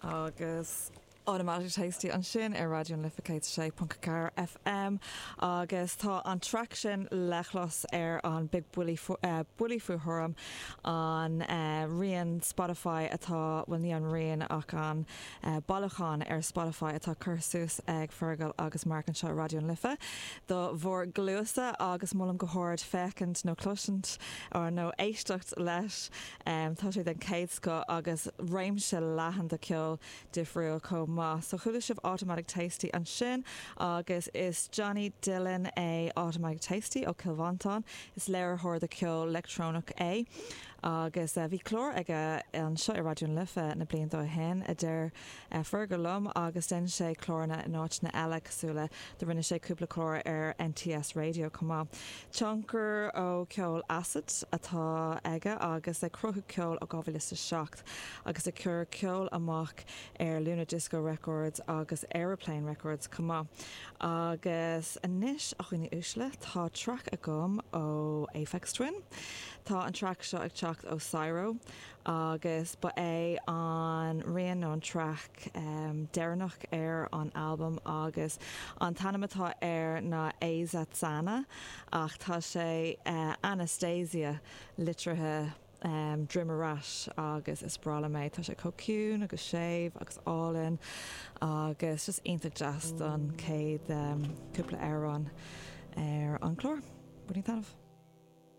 Agus Automatic Tasty ansin ar Raidió na Life 106.4 FM agus tá an traic sin le clos ar an Big Buile Buille Faoi Thuairim, an rian Spotify atá, bhuel ní an rian ach an bailiúchán ar Spotify atá curtha suas ag Fergal agus Mark anseo ar Raidió na Life do bhur gcluasa agus molaim go hard féachaint nó cloisint nó éisteacht leis. Tá sé den chéad scoth agus réimse leathan de cheol difriúil chomh maith. So chuala sibh Automatic Tasty ansin agus is Johnny Dillon é Automatic Tasty ó Chill Mhantáin. Is léiritheoir de cheol leictreonach é agus bhí clár aige anseo i Raidió na Life na blianta ó shin, a deir Fergal liom, agus dhein sé cláranna in áiteanna eile cosúil le do rinne sé cúpla clár ar NTS Radio chomh maith. Tionchar ó cheol acid atá aige agus ag cruthú ceoil ó 2007 agus ag cur ceol amach ar Luna Disco Records agus Aeroplane Records chomh maith. Agus anois, a dhaoine uaisle, tá traic agam ó Aphex Twin. Tá an traic seo ag teacht ó Syro agus ba é an rian nó an traic deireanach ar an albam agus an t-ainm atá air ná Azatsana ach tá sé Anastasia litrithe droim ar ais agus is breá liom é. Tá sé chomh ciúin agus séimh agus álainn agus just iontach deas don chéad cúpla amhrán ar an chlár. Bainigí taitneamh.